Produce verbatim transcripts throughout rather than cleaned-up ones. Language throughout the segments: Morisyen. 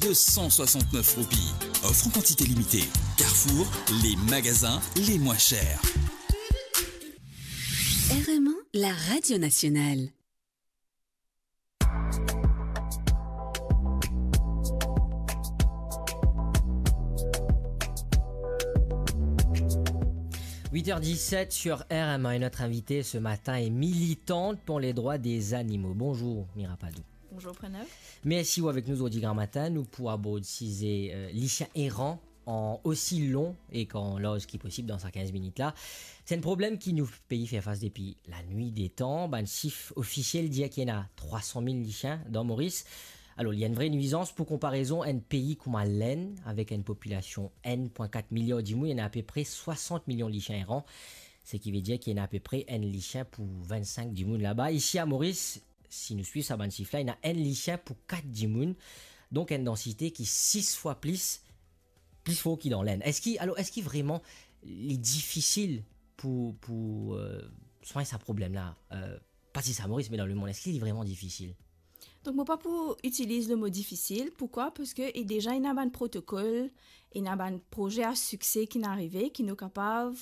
De cent soixante-neuf roupies. Offre en quantité limitée. Carrefour, les magasins les moins chers. R M A, la radio nationale. Huit heures dix-sept sur R M A et notre invitée ce matin est militante pour les droits des animaux. Bonjour Mira Padou. Bonjour Pranav. Mersi ou avek nou zordi gramatin, nou pou abord size, euh, lisien eran an osi lon ek an larz ki posib dan sa kinz minit la. Se enn problem ki nou pei fer fas depi lanwit de tan. Bann sif ofisiel dir ki ena trwa san mil lisien dan Moris. Alor, li enn vre nwizans. Pou konparezon, enn pei kouma Lenn, avek enn popilasion enn pwin kat miliar dimoun, ena apepre swasant milion lisien eran. Seki vedir ki ena apepre enn lisien pou vinn-sink dimoun laba. Isi a Moris, si nou swiv sa bann sif la, ena enn lisien pou kat dimoun. Donk enn dansite ki sis fwa plis, pli for ki dan Lenn. Eski, alor, eski vreman li difisil pou, pou, euh, swagn sa problem la? Euh, pa ti sa Moris, me dan lemond, eski li vreman difisil? Donk, mo pa pou itiliz le mo difisil. Poukwa? Parski e deza ena bann protokol, ena bann proze a sikse ki'nn arive, ki nou kapav,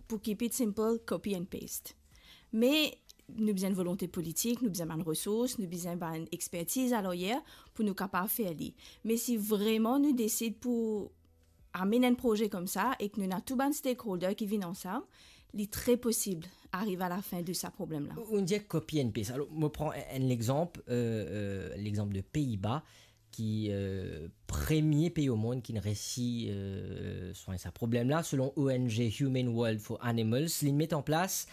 pou keep it simple, copy and paste. Me nou bizin volonte politik, nou bizin bann resours, nou bizin bann expertiz a laryer pou nou kapav fer li. Me si vreman nou desid pou amenn enn proze koumsa ek nou ena tou bann stakeholder ki vinn ansam, li tre posib ariv a lafin de sa problem la. Ou, ou dir copy and paste. Alor, mo pran enn, enn lexanp, euh, euh, lexanp de Pei-Ba, ki, euh, premie pei o mond ki'nn resi, euh, swagn sa problem la, selon O N G Human World for Animals, li'nn met an plas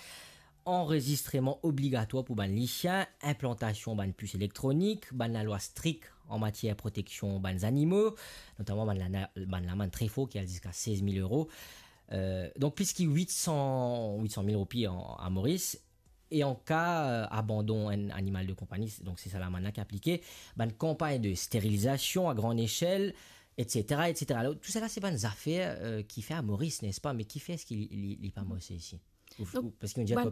anrezistreman obligatwar pou bann lisien, inplantasion bann pis elektronik, bann lalwa strik an matier proteksion bann zanimo, notaman bann lana-, bann lamann tre for ki al ziska sez mil euro. Euh, donk plis ki wit san, wit san mil roupi an, a Moris. E an ka, euh, abandon enn animal de konpagni, donk se sa lamann la ki aplike, bann kanpagn de sterilizasion a gran echel, et cetera, et cetera. Alor, tou sala se bann zafer, euh, ki fer a Moris, nespa? Me kifer eski li, li, li pa marse isi? Ou, donk, ou, parski nou dir bann